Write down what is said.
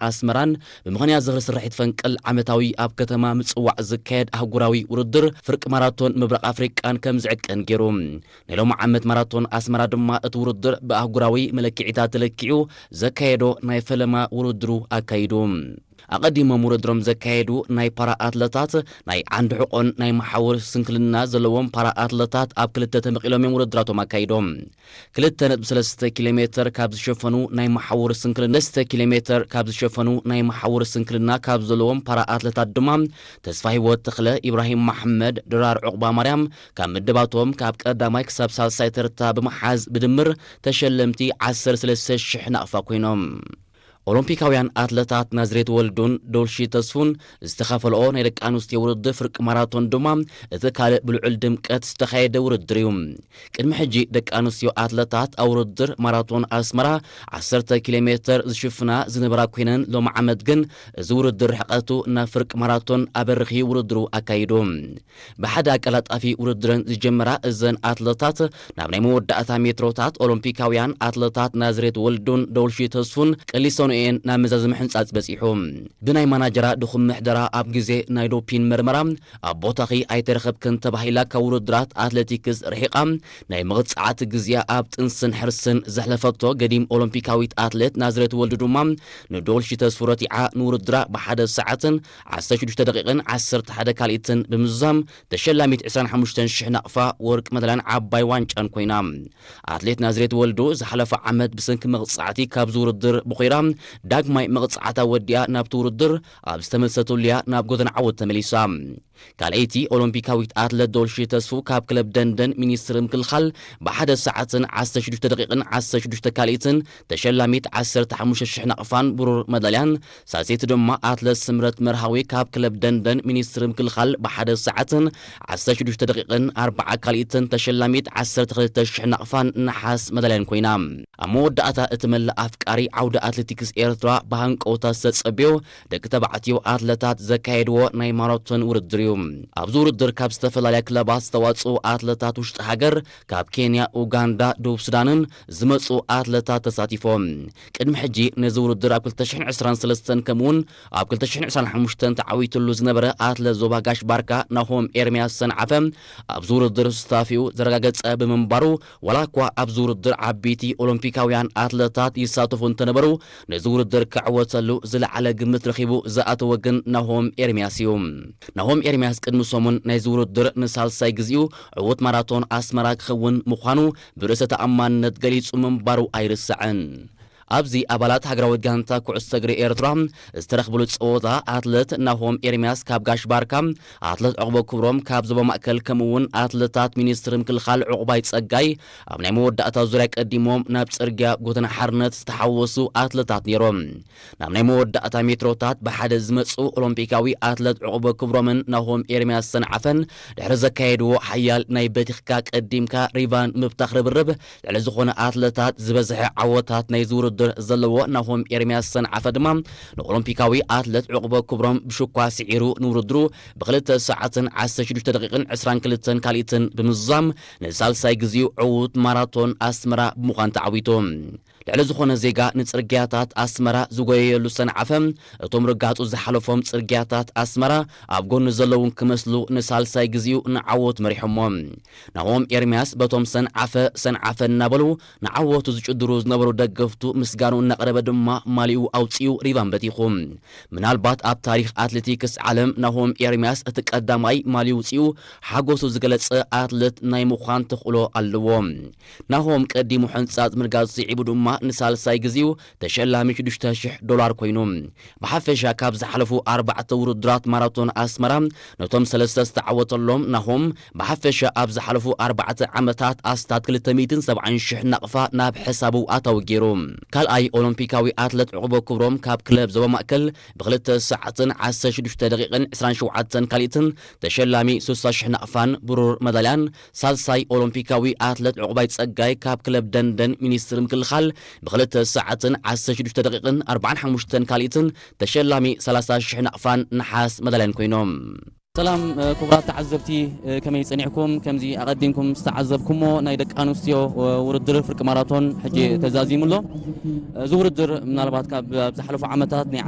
ኣስመራን ብምኽንያት ዝኽሪ ስርሒት ፈንቅል ዓመታዊ ኣብ ከተማ ምጽዋዕ ዝካየድ ኣህጉራዊ ውድድር ፍርቂ ማራቶን ምብራቕ ኣፍሪቃን ከም ዝዕቀን ገይሩ። ናይ ሎሚ ዓመት ማራቶን ኣስመራ ድማ እቲ ውድድር ብኣህጉራዊ መለክዒታት ተለኪዑ ዘካየዶ ናይ ፈለማ ውድድሩ ኣካይዱ። ኣቐዲሞም ውድድሮም ዘካየዱ ናይ ፓራ ኣትለታት ናይ ዓንዲ ሕቖን ናይ መሓውር ስንክልና ዘለዎም ፓራ ኣትለታት ኣብ ክልተ ተመቒሎም እዮም ውድድራቶም ኣካይዶም። ክልተ ነጥቢ ሰለስተ ኪሎ ሜትር ካብ ዝሸፈኑ ናይ መሓውር ስንክልና ሰለስተ ኪሎ ሜትር ካብ ዝሸፈኑ ናይ መሓውር ስንክልና ካብ ዘለዎም ፓራ ኣትለታት ድማ ተስፋ ህይወት ተኽለ፣ ኢብራሂም መሓመድ፣ ድራር ዑቕባ ማርያም ካብ ምድባቶም ካብ ቀዳማይ ክሳብ ሳልሳይ ተርታ ብምሓዝ ብድምር ተሸለምቲ ዓሰርተ ሰለስተ ሽሕ ናቕፋ ኮይኖም። ኦሎምፒካውያን ኣትለታት ናዝሬት ወልዱን ዶልሺ ተስፉን ዝተኻፈልኦ ናይ ደቂ ኣንስትዮ ውድድር ፍርቂ ማራቶን ድማ እቲ ካልእ ብልዑል ድምቀት ዝተኻየደ ውድድር እዩ። ቅድሚ ሕጂ ደቂ ኣንስትዮ ኣትለታት ኣብ ውድድር ማራቶን ኣስመራ ዓሰርተ ኪሎ ሜትር ዝሽፍና ዝነበራ ኮይነን፣ ሎሚ ዓመት ግን እዚ ውድድር ርሕቀቱ ናብ ፍርቂ ማራቶን ኣበርኺ ውድድሩ ኣካይዱ። ብሓደ ኣቀላጣፊ ውድድረን ዝጀመራ እዘን ኣትለታት፣ ናብ ናይ መወዳእታ ሜትሮታት ኦሎምፒካውያን ኣትለታት ናዝሬት ወልዱን ዶልሺ ተስፉን ቀሊሶንኦ እየን ናብ መዛዘሚ ሕንጻጽ በጺሑ። ብናይ ማናጀራ ድኹም ምሕደራ ኣብ ግዜ ናይ ዶፒን መርመራ ኣብ ቦታኺ ኣይተረኸብክን ተባሂላ ካብ ውድድራት ኣትሌቲክስ ርሒቓ ናይ መቕጻዕቲ ግዜኣ ኣብ ጥንስን ሕርስን ዘሕለፈቶ ገዲም ኦሎምፒካዊት ኣትሌት ናዝሬት ወልዱ ድማ ንዶልሺ ተስፉ ረቲዓ ንውድድራ ብሓደ ሰዓትን ዓሰርተ ሽዱሽተ ደቂቕን ዓሰርተ ሓደ ካልኢትን ብምዝዛም ተሸላሚት ዕስራን ሓሙሽተን ሽሕ ናቕፋ ወርቂ መዳልያን ዓባይ ዋንጫን ኮይና። ኣትሌት ናዝሬት ወልዱ ዝሓለፈ ዓመት ብሰንኪ መቕጻዕቲ ካብዚ ውድድር ብኾይራ ዳግማይ መቕጻዕታ ወዲኣ ናብቲ ውድድር ኣብ ዝተመልሰትሉ እያ ናብ ጎደና ዓወት ተመሊሳ። ካልኣይቲ ኦሎምፒካዊት ኣትለት ዶልሺ ተስፉ ካብ ክለብ ደንደን ሚኒስትሪ ምክልኻል ብሓደ ሰዓትን ዓሰርተ ሽዱሽተ ደቂቕን ዓሰርተ ሽዱሽተ ካልኢትን ተሸላሚት ዓሰርተ ሓሙሽተ ሽሕ ናቕፋን ብሩር መዳልያን፣ ሳልሰይቲ ድማ ኣትለት ስምረት መርሃዊ ካብ ክለብ ደንደን ሚኒስትሪ ምክልኻል ብሓደ ሰዓትን ዓሰርተ ሽዱሽተ ደቂቕን ኣርባዓ ካልኢትን ተሸላሚት ዓሰርተ ክልተ ሽሕ ናቕፋን ነሓስ መዳልያን ኮይና። ኣብ መወዳእታ እቲ መላእ ኣፍቃሪ ዓውዲ ኣትሌቲክስ ኤርትራ ብሃንቀውታ ዝተጸብዮ ደቂ ተባዕትዮ ኣትለታት ዘካየድዎ ናይ ማራቶን ውድድር እዩ። ኣብዚ ውድድር ካብ ዝተፈላለያ ክለባት ዝተዋጽኡ ኣትለታት ውሽጢ ሃገር፣ ካብ ኬንያ፣ ኡጋንዳ፣ ደቡብ ሱዳንን ዝመጹ ኣትለታት ተሳቲፎም። ቅድሚ ሕጂ ነዚ ውድድር ኣብ ክልተ ሽሕን ዕስራን ሰለስተን ከምኡውን ኣብ ክልተ ሽሕን ዕስራን ሓሙሽተን ተዓዊትሉ ዝነበረ ኣትለት ዞባ ጋሽ ባርካ ናሆም ኤርምያስ ሰንዓፈ ኣብዚ ውድድር ስታፊኡ ዘረጋገጸ ብምንባሩ፣ ዋላ እኳ ኣብዚ ውድድር ዓበይቲ ኦሎምፒካውያን ኣትለታት ይሳተፉ እንተነበሩ፣ ነዚ ውድድር ክዕወተሉ ዝለዓለ ግምት ረኺቡ ዝኣተወ ግን ናሆም ኤርምያስ እዩ። ናሆም ኤርምያስ ቅድሚ ሰሙን ናይዚ ውድድር ንሳልሳይ ግዜኡ ዕዉት ማራቶን ኣስመራ ክኸውን ምዃኑ ብርእሰ ተኣማንነት ገሊጹ ምንባሩ ኣይርሳዕን። ኣብዚ ኣባላት ሃገራዊት ጋንታ ኩዕሶ እግሪ ኤርትራ ዝተረኽብሉ ጸወታ ኣትለት ናሆም ኤርምያስ ካብ ጋሽ ባርካ፣ ኣትለት ዕቑበ ክብሮም ካብ ዞባ ማእከል ከምኡ እውን ኣትለታት ሚኒስትሪ ምክልኻል ዕቑባይ ጸጋይ ኣብ ናይ መወዳእታ ዙርያ ቀዲሞም ናብ ጽርግያ ጎተና ሓርነት ዝተሓወሱ ኣትለታት ነይሮም። ናብ ናይ መወዳእታ ሜትሮታት ብሓደ ዝመጹ ኦሎምፒካዊ ኣትለት ዕቑበ ክብሮምን ናሆም ኤርምያስ ሰንዓፈን ድሕሪ ዘካየድዎ ሓያል ናይ በቲኽካ ቀዲምካ ሪቫን ምብታኽ ርብርብ ልዕሊ ዝኾነ ኣትለታት ዝበዝሐ ዓወታት ናይ ዝውድድር ዘለዎ ናሆም ኤርምያስ ሰንዓፈ ድማ ንኦሎምፒካዊ ኣትለት ዕቑበ ክብሮም ብሽኳ ስዒሩ ንውድድሩ ብክልተ ሰዓትን ዓሰርተ ሽዱሽተ ደቂቕን ዕስራን ክልተን ካልኢትን ብምዝዛም ንሳልሳይ ግዜኡ ዕዉት ማራቶን ኣስመራ ብምዃን ተዓዊቱ። ልዕሊ ዝኾነ ዜጋ ንጽርግያታት ኣስመራ ዝጎየየሉ ሰንዓፈ፣ እቶም ርጋጹ ዝሓለፎም ጽርግያታት ኣስመራ ኣብ ጎኒ ዘለውን ክመስሉ ንሳልሳይ ግዜኡ ንዓወት መሪሖሞ። ናሆም ኤርምያስ በቶም ሰንዓፈ ሰንዓፈ እናበሉ ንዓወቱ ዝጭድሩ ዝነበሩ ደገፍቱ ምስጋኑ እናቕረበ ድማ ማሊኡ ኣውጺኡ ሪቫን በቲኹ። ምናልባት ኣብ ታሪኽ ኣትሌቲክስ ዓለም ናሆም ኤርምያስ እቲ ቀዳማይ ማሊኡ ውጺኡ ሓጎሱ ዝገለጸ ኣትሌት ናይ ምዃን ተኽእሎ ኣለዎ። ናሆም ቀዲሙ ሕንጻጽ ምርጋጽ ስዒቡ ድማ ንሳልሳይ ግዜኡ ተሸላሚ ሽዱሽተ ሽሕ ዶላር ኮይኑ። ብሓፈሻ ካብ ዝሓለፉ ኣርባዕተ ውድድራት ማራቶን ኣስመራ ነቶም ሰለስተ ዝተዓወተሎም ናሆም ብሓፈሻ ኣብ ዝሓለፉ ኣርባዕተ ዓመታት ኣስታት ክልተ ሚእትን ሰብዓን ሽሕ ናቕፋ ናብ ሕሳቡ ኣታዊ ገይሩ። ካልኣይ ኦሎምፒካዊ ኣትለት ዕቑበ ክብሮም ካብ ክለብ ዞባ ማእከል ብክልተ ሰዓትን ዓሰርተ ሽዱሽተ ደቂቕን ዕስራን ሸውዓተን ካልኢትን ተሸላሚ ስሳ ሽሕ ናቕፋን ብሩር መዳልያን፣ ሳልሳይ ኦሎምፒካዊ ኣትለት ዕቑባይ ጸጋይ ካብ ክለብ ደንደን ሚኒስትሪ ምክልኻል ብክልተ ሰዓትን ዓሰርተ ሽዱሽተ ደቂቕን ኣርባዓን ሓሙሽተን ካልኢትን ተሸላሚ ሰላሳ ሽሕ ናቕፋን ነሓስ መዳልያን ኮይኖም። ሰላም፣ እ፣ ክቡራት ተዓዘብቲ፣ እ፣ ከመይ ጸኒሕኩም? ከምዚ ኣቐዲምኩም ዝተዓዘብኩሞ ናይ ደቂ ኣንስትዮ፣ እ፣ ውድድር ፍርቂ ማራቶን ሕጂ ተዛዚሙ ኣሎ። እዚ ውድድር ምናልባት ካብ ኣብ ዝሓለፉ ዓመታት ናይ